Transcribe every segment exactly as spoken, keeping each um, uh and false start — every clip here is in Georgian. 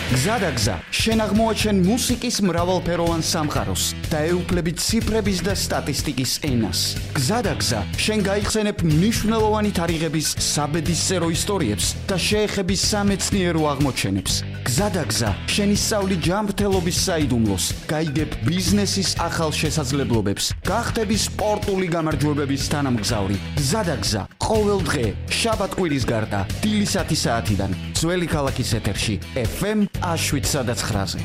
გზადაგზა, შენ აღმოაჩენ მუსიკის მრავალფეროვან სამყაროს და ეუფლები ციფრების და სტატისტიკის ენას. გზადაგზა, შენ გაიხსენებ მნიშვნელოვანი თარიღების საბედისწერო ისტორიებს და შეეხები სამეცნიერო აღმოჩენებს. გზადაგზა, შენ ისწავლი ჯანმრთელობის საიდუმლოს, გაიგებ ბიზნესის ახალ შესაძლებლობებს, გახდები სპორტული გამარჯვებების თანამგზავრი. გზადაგზა, ყოველ დღე, შაბათ-კვირის გარდა, დილისათი საათიდან, ძველი ქალაქის ეთერში, ეფ ემ შვიდ ცხრაზე.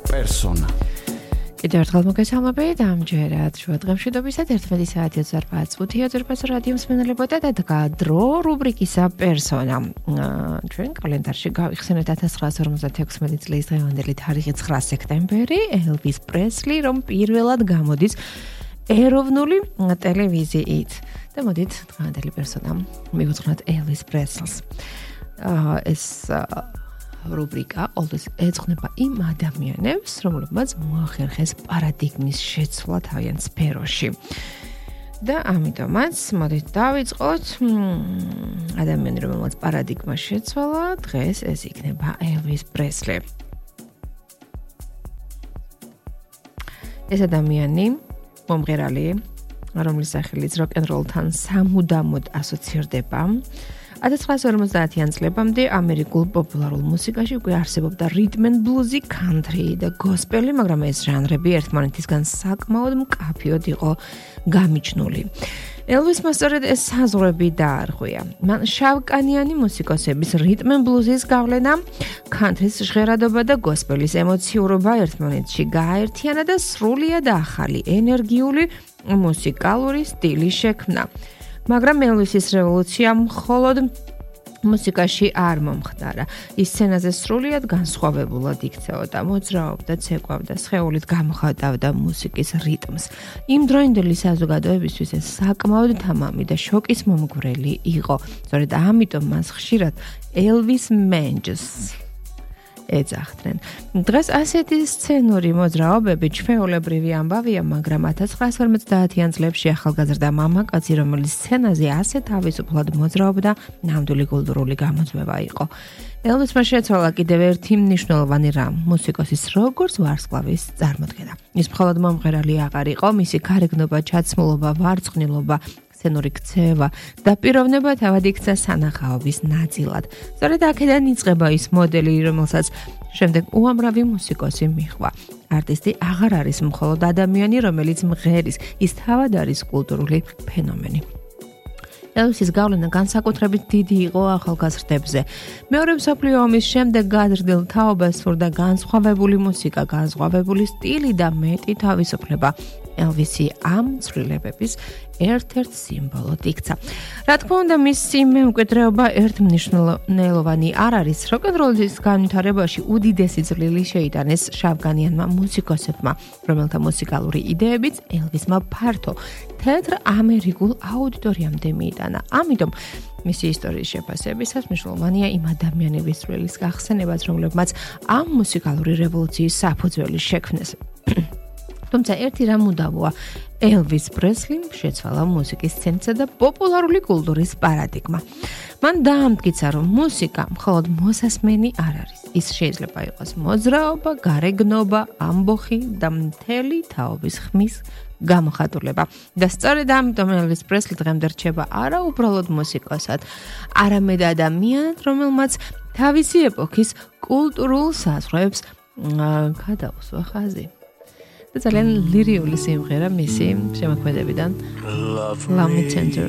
პერსონა. კიდევ ერთხელ მოგესალმებით, ამჯერად შუა დღემშვიდობისად ერთმეტი საათი ოცდაოთხ წუთია ძვირფასო რადიო მსმენელებოდა და დრო რუბრიკისა პერსონა. ჩვენ კალენდარში გავიხსენეთ ათას ცხრაასი ორმოცდათექვსმეტი წლის დღევანდელი თარიღი ცხრა სექტემბერი, ელვის პრესლი, რომ პირველად გამოდის ეროვნული ტელევიზიით. და მოდით დღევანდელი პერსონა მივუძღვნათ ელვის პრესლს. ეს რუბრიკა ყოველთვის ეძღვნება იმ ადამიანებს, რომლებმაც მოახერხეს პარადიგმის შეცვლა თავიანთ სფეროში. და ამიტომაც მოდით დავიწყოთ ადამიანი, რომელმაც პარადიგმა შეცვალა, დღეს ეს იქნება ელვის პრესლი. ეს ადამიანი მომღერალი, რომლის სახელიც როკ-ენ-როლთან სამუდამოდ ასოცირდება. ათას ცხრაასი ორმოცდაათიან წლებამდე ამერიკულ პოპულარულ მუსიკაში უკვე არსებობდა რიტმ ენდ ბლუზი, კანტრი და გოსპელი, მაგრამ ეს ჟანრები ერთმანეთისგან საკმაოდ მკაფიოდ იყო გამიჯნული. ელვისმა სწორედ ეს საზღვრები დაარღვია. მან შავკანიანი მუსიკოსების რიტმ ენდ ბლუზის გავლენა, კანტრის ჟღერადობა და გოსპელის ემოციურობა ერთმანეთში გააერთიანა და სრულიად ახალი ენერგიული მუსიკალური სტილი შექმნა. მაგრამ ელვისის რევოლუცია მხოლოდ მუსიკაში არ მომხდარა. ის სცენაზე სრულიად განსხვავებულად იქცეოდა, მოძრაობდა, ცეკვავდა, სხეულით გამოხატავდა მუსიკის რიტმს. იმ დროინდელი საზოგადოებისთვის ეს საკმაოდ თამამი და შოკის მომგვრელი იყო. სწორედ ამიტომ მას ხშირად ელვის მენჯს ეძახდნენ. დღეს ასეთი სცენური მოძრაობები ჩვეულებრივი ამბავია, მაგრამ ათას ცხრაასი ორმოცდაათიან წლებში ახალგაზრდა მამაკაცი, რომელიც სცენაზე ასე თავისუფლად მოძრაობდა, ნამდვილი კულტურული გამოძვება იყო. ელვისმა შეცვალა კიდევ ერთი მნიშვნელოვანი რამ, მუსიკოსის როგორც ვარსკვლავის წარმოდგენა. ის მხოლოდ მომღერალი აღარ იყო, მისი გარეგნობა, ჩაცმულობა, ვარცხნილობა, სცენური ქცევა და პიროვნება თავად იქცა სანახაობის ნაწილად. სწორედ აქედან იწყება ის მოდელი, რომელსაც შემდეგ უამრავი მუსიკოსი მიჰყვა. არტისტი აღარ არის მხოლოდ ადამიანი, რომელიც მღერის, ის თავად არის კულტურული ფენომენი. ელვისის გავლენა განსაკუთრებით დიდი იყო ახალგაზრდებზე. მეორე მსოფლიო ომის შემდეგ გაზრდილ თაობას სურდა განსხვავებული მუსიკა, განსხვავებული სტილი და მეტი თავისუფლება. ელვისი ამ ცვლილებების ერთ-ერთ სიმბოლოდ იქცა. რა თქმა უნდა, მისი მემკვიდრეობა ერთმნიშვნელოვანი არ არის. როკ-ენ-როლის განვითარებაში უდიდესი წვლილი შეიტანეს შავკანიანმა მუსიკოსებმა, რომელთა მუსიკალური იდეებიც ელვისმა ფართო, თეთრ ამერიკულ აუდიტორიამდე მიიტანა. ამიტომ მისი ისტორიის შეფასებისას მნიშვნელოვანია იმ ადამიანების წვლილის გახსენებაც, რომლებმაც ამ მუსიკალური რევოლუციის საფუძველი შექმნეს. თუმცა ერთი რამ უდავოა, ელვის პრესლიმ შეცვალა მუსიკის სცენისა და პოპულარული კულტურის პარადიგმა. მან დაამტკიცა, რომ მუსიკა მხოლოდ მოსასმენი არ არის. ის შეიძლება იყოს მოძრაობა, გარეგნობა, ამბოხი და მთელი თაობის ხმის გამოხატულება. და სწორედ ამიტომ ელვის პრესლი დღემდე რჩება არა უბრალოდ მუსიკოსად, არამედ ადამიანად, რომელმაც თავისი ეპოქის კულტურულ საზღვრებს გადაუსვა ხაზი. ძალიან ლირიული სიმღერა მისი შემოქმედებიდან Love Me Tender.